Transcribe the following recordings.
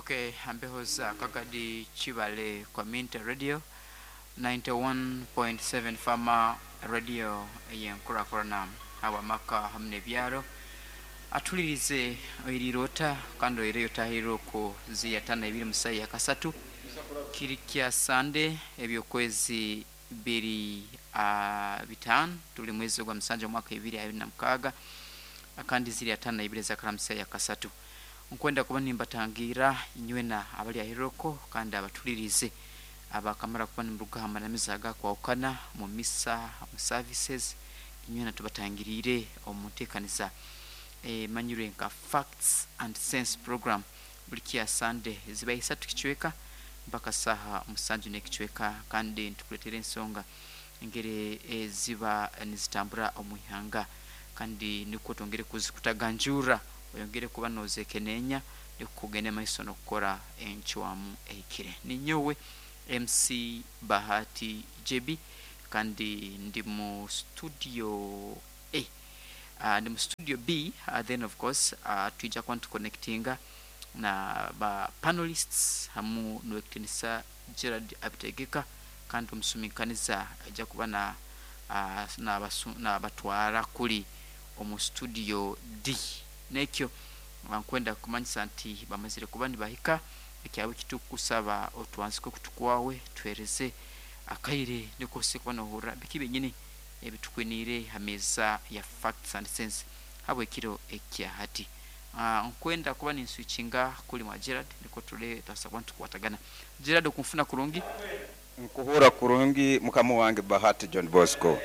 Okay, ambeho za Kagadi Chibale Community Radio 91.7 Farmer Radio ey'enkurakurana habw'amaka hamu n'ebyaro. Atulirize oirirota kandi oireyo otahirire oku ziyatana ibiri musayi ya kasatu kiri kya Sande ebyokwezi biri 5 tuli mwezi gwa 7 omwaka 2026 kandi ziri atana ibiri zakaramusa ya kasatu. Nkwenda kuba nimbatangira inywena abali ahiroko kandi abatulirize abakamara kuba nimuruga hamanamiza agakwahukana mu misa, mu services, inywena tubatangirire omu nteekaniza emanyirwe nka Facts and Sense program buli kya Sande ziba isatu kicweka mpaka saha 7 n'ekicweka kandi nitukuleetera ensonga engeri eziba nizitambura omu ihanga kandi nikwo twongere kuzikutaganjura oyongere kuba nozekeneenya nikukugenda maiso n'okukora encwamu ehikire. Ninyowe MC Bahati JB kandi ndi mu studio A, ndi mu studio B, then of course twija kuba nituconnectinga na ba panelists hamu n'owekitinisa Gerald Abitegeka kandi omusuminkaniza aija kuba na nabatwara kuli omu studio D. Nekyo nkwenda kumanyisa nti bamazire kuba nibahika ekyawe kitukusaba otwanzike okutu kwawe tuhereze akaire nikwo kuba nohurra biki byenyini ebitukwiniire ha meeza ya Facts and Sense habwekiro ekya hati. Nkwenda kuba ninswitchinga kuli mwa Gerald nikwo tule twasa kuba nitukwatagana. Gerald, okunfuna kurungi? Nkuhura kurungi mukama wange Bahati John Bosco.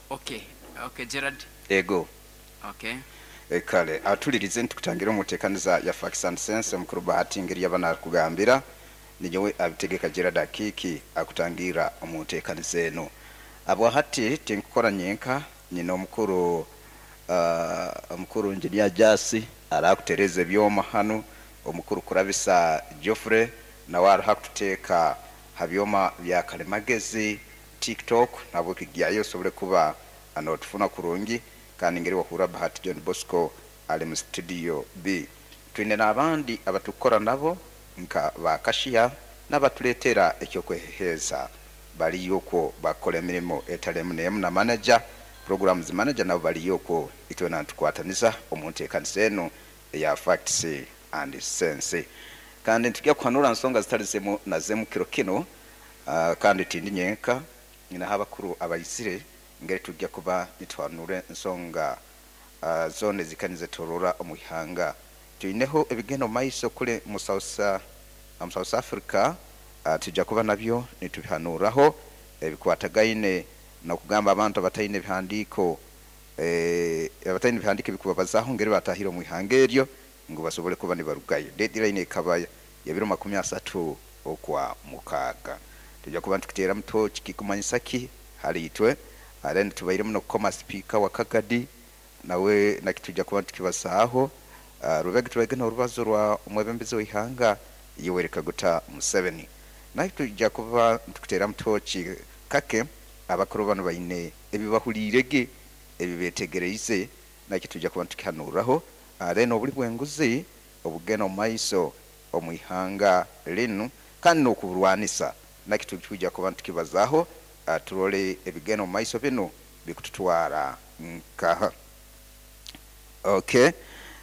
Okay, Gerald. Ego. Okay. Kale atulirize ntukutangira omutekaniza ya Facts and Sense omukuru Bahati ngeri yabana kugambira ninyowe Abitegeka Gerald Akiki akutangira omutekaniza eno. Abo hati tinkukora nyenka, nyina omukuru Engineer Jasi arakutereza ebyoma hanu, omukuru Kurabisa Geoffrey nawe araha kututeeka ha byoma bya kalimagezi TikTok nabwo kigyayo osobole kuba anotufuna kurungi kandi ngeri wahura Bahati John Bosco ali mu studio B. Twine n'abandi abatukora nabo nka bakashiya n'abatuleetera ekyokweheheza baliyo okwo bakora emirimo etali emu n'emu na manager programs manager nabo baliyo okwo itwena nitukwataniza omu nteekanisa eno eya Facts and Sense. Kandi ntujya kuhanura nsonga zitali zimu na zimu kiro kino, kandi tindi nyenka nyina abakuru abayisire ngeri tujya kuba nituhanure nsonga zone zikanize torora omu ihanga. Tuineho ebigendo maiso kule mu South Africa, tujya kuba nabyo nitubihanuraho ebikwatagaine nokugamba abantu abataine ebihandiiko, abataine ebihandiiko ebikubabazaho ngeri batahire omu ihanga eryo ngu basobole kuba nibarugayo. Deadline ekaba ya biro 30 okwa 6. Tujya kuba ntukiteera muto kikumanyisa ki hali itwe. Then tubaire muno kukoma speaker wa Kagadi nawe nakitujja kuba tukibasaaho. Rubega tubaige n'orubazo rwa omwebembezi w'ihanga Yoweri Kaguta Museveni. Naye tujja kuba ntukuteera mutoki kake abakuru bano baine ebibahuliirege ebibetegereize nakyo tujja kuba ntukihanuraho. Then obuli bw'enguzi obugenda omu maiso omu ihanga linu kandi n'okuburwanisa nakyo tujja kuba ntukibazaaho, turole ebigenda omu maiso binu bikututwara nkaha. Okay,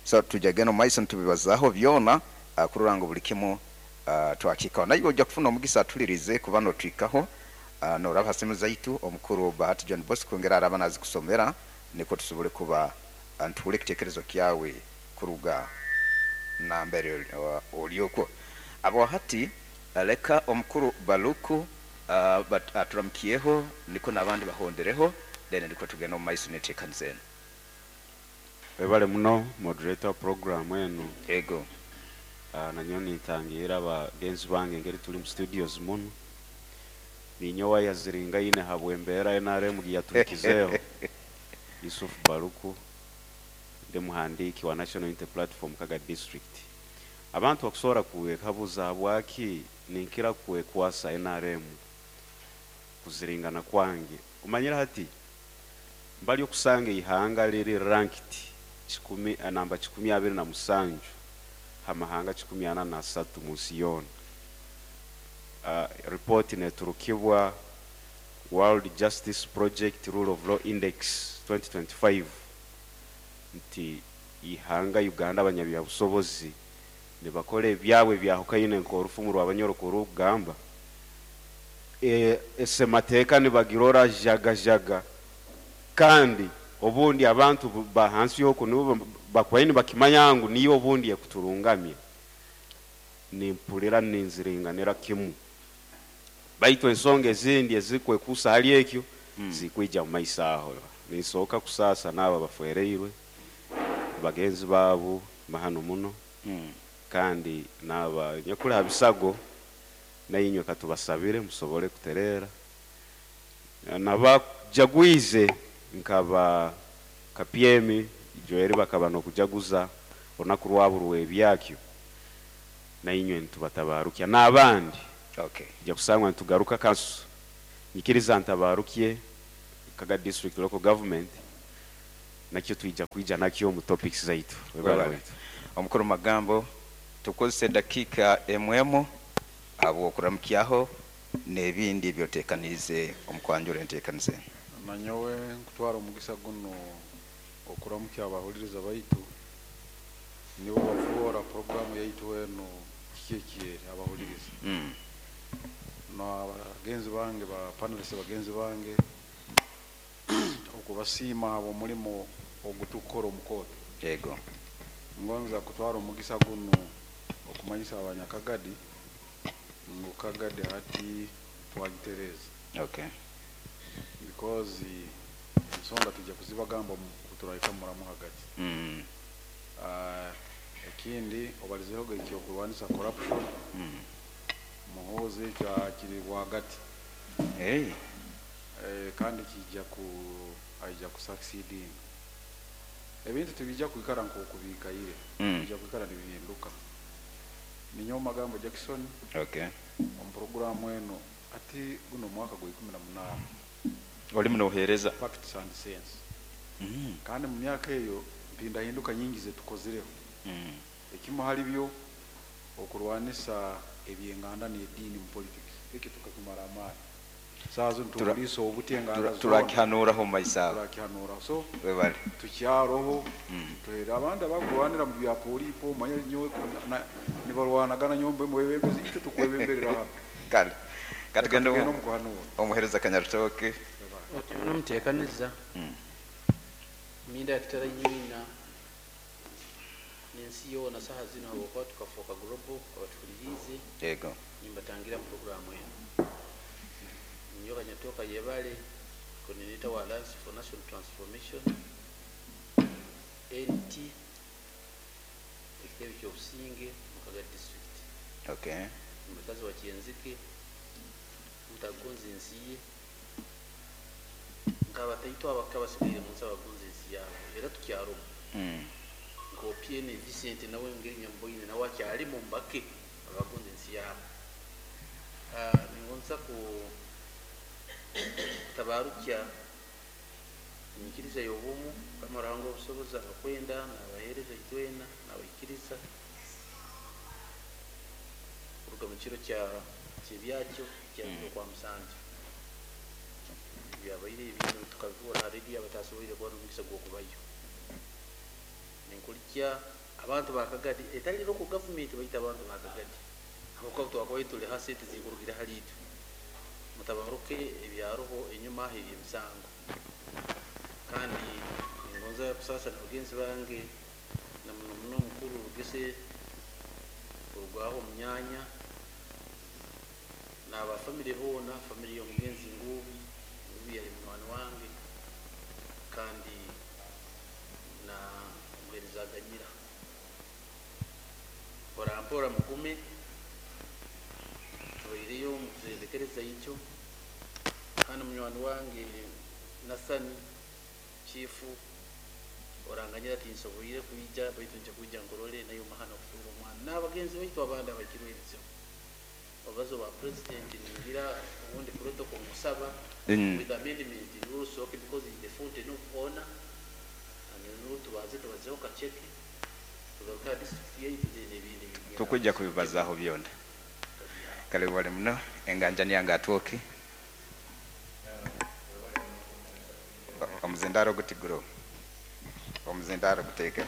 so tujja genda omu maiso nitubibazaho byona, kurora ngu buli kimu twakikaho. Naye ojja kufuna omugisa atulirize kuba notwikaho, noraba ha simu zaitu omukuru Bahati John Bosco ngera araba nazikusomera nikwo tusobole kuba ntuhule ekitekerezo kyawe kuruga nambere oli okwo. Abo hati leka omukuru Baluku aturamukiyeho niko n'abandi bahondereho then niko tugenda omu maiso n'enteekaniza eno. Webale muno moderator program eno. Ego. Nanyo nintangira abagenzi bange ngeri tuli mu studios muno. Ninyowe yaziringaine habw'embeera NRM giyatuhikizeho. Yusuf Baluku ndi muhandiki wa National Unity Platform Kaga District. Abantu bakusobola kuwekabuza habwaki ninkira kwekwasa NRM kuziringana kwange. Omanyire hati mbali okusanga ihanga liri ranked namba 127 ha mahanga 43 mu nsi yoona. Report neturukibwa World Justice Project Rule of Law Index 2025 nti ihanga Uganda abanyabyabusobozi nibakora ebyabwe byahukaine nk'orufumu rw'Abanyoro kurugamba esemateeka nibagirora jagajaga, kandi obundi abantu bahansi yoku nibo bakwaine bakimanya ngu niyo obundi ekuturungamye. Nimpulira ninziringanira kimu, baitu ensonga ezindi ezikwekusa hali ekyo zikwija mu maiso aho. Ninsooka kusaasa n'abo abafereirwe bagenzi baabo mahano muno, kandi n'aba nyakuli ha bisago nainywe katubasabire musobole kutereera. Nabajagwize nkaba kapyemi joeri bakaba n'okujaguza olunaku rwabo rw'ebyakyo, nainywe nitubatabarukya n'abandi. Ja kusangwa nitugaruka kansu nyikiriza ntabarukye Kaga District Local Government, nakyo twija kwija nakyo mu topics zaitu. Webale. Omukuru Magambo, tukozese dakiika emwemu habw'okuramukyaho n'ebindi ebyoteekaniize omu kwanjura enteekaniza enu. Nanyowe nkutwara omugisa guno okuramukya abahuliriza baitu, nibo bafoora programu yaitu eno kiki ekyeri abahuliriza. N'abagenzi bange ba panelists bagenzi bange, okubasiima habw'omulimo ogutukukora omu kooti. Ngonza kutwara omugisa guno okumanyisa abanyakagadi ngu Kagadi hati twagitereeza. Because ensonga tujja kuzibagamba kuturahika muramu hagati. Ekindi obalizeho ekyokurwanisa corruption. Muhoozi ekyo kiri rwagati. Kandi kijja ku aija kusucceeding. Ebintu tibijja kwikara nk'oku biikaire, bijja kwikara nibihinduka. Ninyowe Magambo Jackson. Omu programu eno ati guno omwaka gwa 18. Olimu noheereza. Facts and Sense. Kandi mu myaka eyo mpindahinduka nyingi zetukozireho. Ekimu hali byo okurwanisa ebyenganda n'ediini mu politics. Ekyo tukakimara amaani. Saaha zino tuliisa obuti enganda zoona. Turakihanuraho mu maiso aho. Turakihanuraho. So Webale. tukyaroho, tuhere abandi abakurwanira mu bya polipo, manya nyowe nibarwanagana nyowe mwebembezi, itwe tukwebemberera hano. Kale. Katugende Tugende omu kuhanura. Omuhereza Kanyarutoke. Nomuteekaniza. Minda yakitara nyina n'ensi yoona saha zino habwokuba tukafuuka global abatuhuliriize. Nimbatangira mu programu eno. Ninyowe Kanyatoka Yebale, coordinator wa Alliance for National Transformation, NT, ekitebe ky'obusinge mu Kagadi District. Omukazi wa Kyenzike, mutagonza ensi ye, nk'abataito abakabasigaire mu nsi abagonza ensi yaabo, era tukyarumu. Nk'Opiene Vincent nawe ngeri Nyamboine nawe akyalimu mbake abagonza ensi yaabo. Ningonza ku tabarukya enyikiriza y'obumu, Mukama Ruhanga obusobozi abakwenda n'abaheereza itwena n'abaikiriza kuruga mu kiro kyebyakyo kya kwa musanju byabaire ebintu tukabibura ha rediyo abatasoboire kubona omugisa gw'okubayo. Ninkulikya abantu ba Kagadi etali local government baita abantu ba Kagadi habwokuba twakubaire tuli ha sente zikurugire hali itwe mutabaruke ebyaroho enyuma aho eby'emisango. Kandi ningonza kusaasa na bagenzi bange na muno muno omukuru Rugese kurugaho omunyanya n'aba family boona, family y'omugenzi Ngubi, Ngubi yali munywani wange kandi na omuheereza Aganyira. Mpora mpora mugume tubaireyo mukuzendekereza ikyo. Kandi munywani wange Nathani chifu oranganyira tinsoboire kwija baitu nja kwija nkorole nayo mahana kufunga omwana n'abagenzi baitu abandi abakirwe ebizibu. Obazo ba president ningira ubundi protocol musaba with amendment rules, okay, because it's the fountain of honor and no tubaze tubazeho kacheke Tugaruka ha district yaitu n'ebindi ebigenda. Tukujja kubibazaho byona. Kale wali muno enganjani yange atwoki omuzindaro gutiguro omuzindaro guteeke.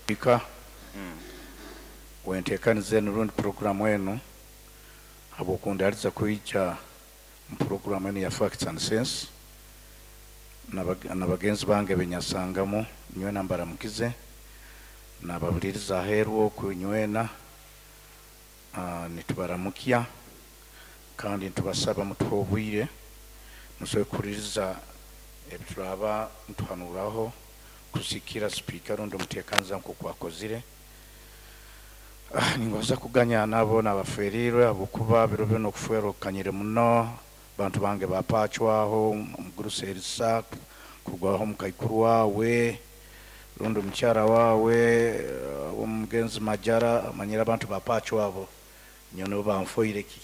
Ika wentekaniza enu rundi programu enu habwokundaliza kwija mu programu enu ya Facts and Sense na bagenzi bange benyasangamu nywena mbaramukize nababuliriza aheeru oku nywena, nitubaramukya kandi nitubasaba mutuhe obwire musobole kuhuliriza ebituraba nituhanuraho kusikira sipiika rundi omuteekaniza nk'oku akozire. Ningoza kuganya nabo nabaferiirwe habwokuba biro bino okufwerwa okukanyire muno. Bantu bange bapacwaho omugurusi Erisa kurwaho omukaikuru wawe rundi omukyara wawe omugenzi Majara amanyire abantu bapacwabo nyowe nibo banfoire.